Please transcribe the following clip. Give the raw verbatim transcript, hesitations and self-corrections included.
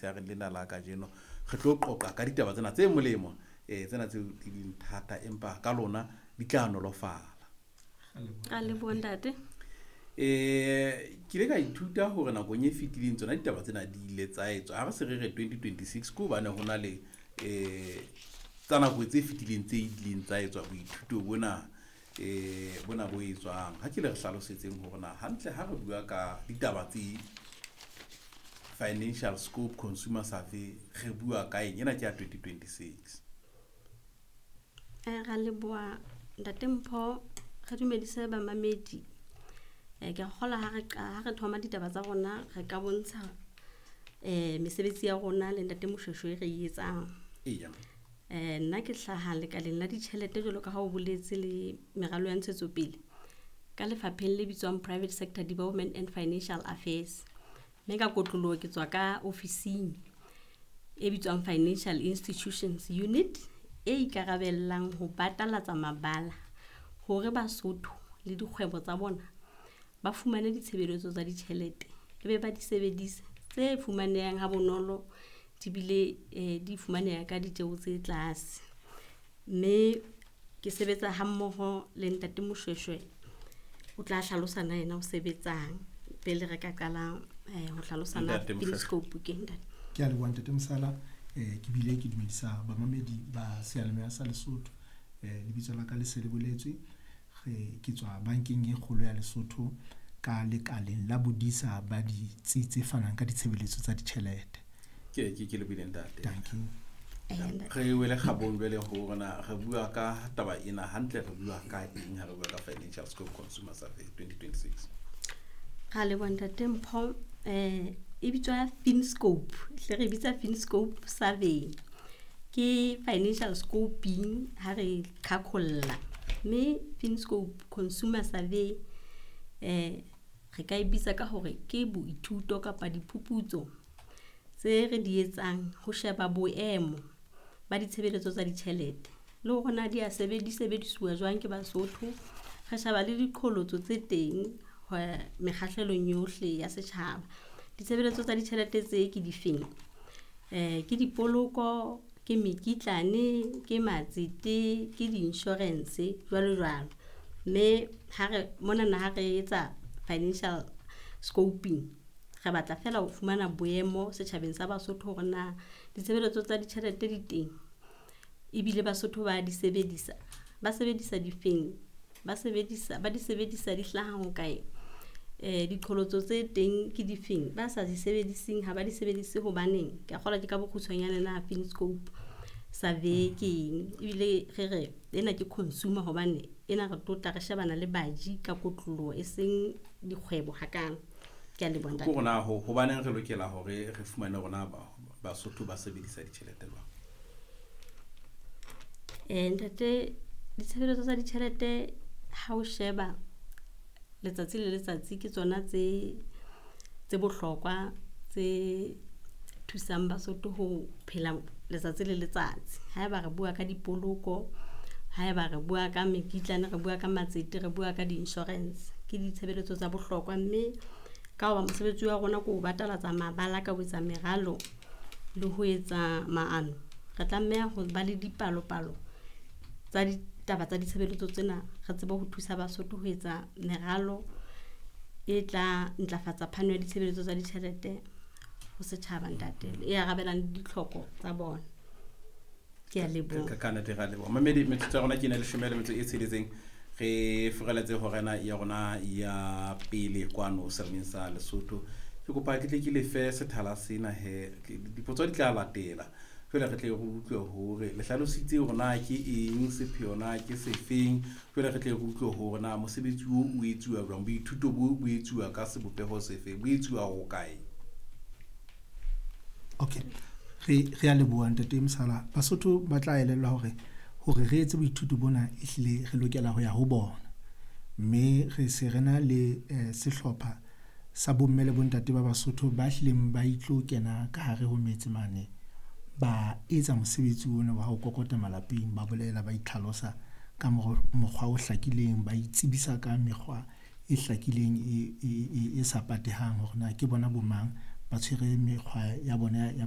Motshegareng lena la kajeno re tlo qoqa ka ditaba tsena tse molemo, um tsena tseo di leng thata empa ka lona di tla nolofala. A leboha ntate. Eh ke ile ka ithuta hore nakong e fetileng tsona ditaba tsena di ile tsa etswa ha re se re re twenty twenty six ke hobane ho na le eh tsa nako tse fetileng tse ileng tsa etswa boithuto bona, eh bona bo etswang. Ha ke le re hlalosetseng hore na hantle ha re bua ka ditaba tse Financial Scope Consumer Survey re bua ka eng, ena ke ya twenty twenty six. Eh ra leboha ntate Mpho, re dumedise bamamedi. Eh ke a kgolwa ha re ha re thoma ditaba tsa rona re ka bontsha eh mesebetsi ya rona le ntate Moshweshwe e re e etsang. Eya. Eh nna ke hlaha lekaleng la ditjhelete jwalo ka ha o boletse le meralo ya ntshetsopele ka lefapheng le bitswang Private Sector Development and Financial Affairs. Mme ka kotloloho ke tswa ka ofising e bitswang Financial Institutions Unit e ikarabellang ho batalatsa mabala hore Basotho le dikgwebo tsa bona ba fumane ditshebeletso tsa ditjhelete ebe ba di sebedise tse fumanehang ha bonolo di bile eh, di fumaneha ka ditjeho tse tlase. Mme ke sebetsa ha mmoho le ntate Moshweshwe, o tla hlalosa na yena o sebetsang pele re ka qala eh, ho hlalosa na Ntate Moshweshwe. Finscope ke ntate. Ke a leboha ntate Mosala. eh ke bile ke dumedisa bamamedi ba seyalemoya sa Lesotho. eh lebitso la ka le se le boletswe, re ke tswa bankeng e kgolo ya Lesotho ka lekaleng la bodisa ba ditsi tse fanang ka ditshebeletso tsa ditjhelete. Ke ke ke lebohile ntate. Thank you. Eh, ntate. Re wele kgabong jwale ho rona re bua ka taba ena hantle, re bua ka eng ha re bua ka Financial Scope Consumer Survey twenty twenty six? Ra leboha ntate Mpho. Eh e bitswa Finscope, hle re bitsa Finscope survey. Ke financial scoping ha re qhaqholla. Mme Finscope Consumer Survey eh re ka e bitsa ka hore ke boithuto kapa diphuputso tse re di etsang ho sheba boemo ba ditshebeletso tsa ditjhelete le hore na di a di sebedisuwa jwang ke Basotho. Re sheba le diqholotso tse teng mekgahlelong yohle ya setjhaba. Ditshebeletso tsa ditjhelete tse ke difeng? Eh ke dipoloko, ke mekitlane, ke matsete, ke di-insurance jwalo jwalo. Mme ha re monana ha re etsa financial scoping re batla fela ho fumana boemo setjhabeng sa Basotho hore na ditshebeletso tsa ditjhelete di teng ebile Basotho ba di sebedisa, ba sebedisa difeng, ba sebedisa ba di sebedisa di hlaha ho kae, eh diqholotso tse teng ke difeng, ba sa di sebediseng ha ba di sebedise hobaneng. Ke a kgolwa ke ka bokgutshwanyane na Finscope survey ke eng, ebile re re ena ke consumer hobane ena re tlo tla re shebana le baji ka kotloloho e seng dikgwebo hakalo. Ke a leboha ntate. Ke hore na ho hobaneng re lokela hore re fumane hore na Basotho ba sebedisa ditjhelete jwang? Eh ntate, ditshebeletso tsa ditjhelete ha o sheba letsatsi le letsatsi ke tsona tse tse bohlokwa tse thusang Basotho ho phela letsatsi le letsatsi. Haeba re bua ka dipoloko, haeba re bua ka mekitlane, re bua ka matsete, re bua ka di-insurance, ke ditshebeletso tsa bohlokwa. Mme ka hoba mosebetsi wa rona ke ho batalatsa mabala ka ho etsa meralo le ho etsa maano, re tlameha ho ba le dipalopalo tsa ditaba tsa ditshebeletso tsena, re tsebe ho thusa Basotho ho etsa meralo e tla ntlafatsa phano ya ditshebeletso tsa ditjhelete ho setjhaba ntate, e arabelang le ditlhoko tsa bona. Ke a leboha. Ka ka nnete ra leboha. Mamedi, metsotso ya rona ke ena leshome le metso e tsheletseng. Re furaletse horena ya rona ya pele kwano selemeng sa Lesotho. Ke kopa ke tle ke lefe sethala sena he, dipotso di tla latela. Jwale re tle re utlwe hore le hlalositse hore na ke eng, sepheo na ke sefeng. Jwale re tle re utlwe hore na mosebetsi oo o etsuwa jwang, boithuto bo bo etsuwa ka sebopeho sefe, bo etsuwa ho kae? Okay, re re a leboha ntate Mosala. Basotho ba tla elellwa hore hore re etse boithuto bona ehlile re lokela ho ya ho bona. Mme re se re na le eh, sehlopha sa bomme le bontate ba Basotho ba hlileng ba itlo kena ka hare ho metse mane, ba etsa mosebetsi ona wa ho kokota malapeng, ba bolela, ba itlhalosa ka mokgwa o hlakileng, ba itsebisa ka mekgwa e hlakileng e, e, e, e sa patehang hore na ke bona bo mang, Ba tshwere mekgwa ya bona ya